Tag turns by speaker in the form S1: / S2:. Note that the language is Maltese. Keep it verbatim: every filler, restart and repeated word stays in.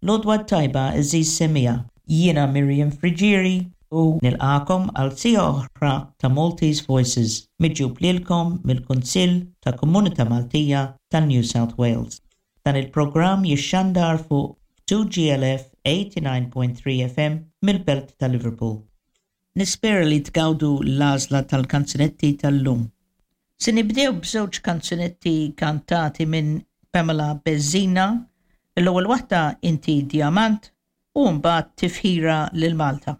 S1: L-għodwa t-tajba, għeżież semmiegħa. Jiena Miriam Friggieri u nilqagħkom għal siegħa oħra ta' Maltese Voices miġjub lilkom mill-Kunsill ta' Komunità Maltija ta' New South Wales. Dan il-programm jixxandar fuq two G L F eighty-nine point three F M mill-Belt ta' Liverpool. Nispera li tgawdu l-għażla tal-kanzunetti tal-lum. Se nibdew b'żewġ kanzunetti kantati minn Pamela Bezzina. L-ewwel waħda, "Inti Diamant", u mbagħad "Tifħira lil Malta".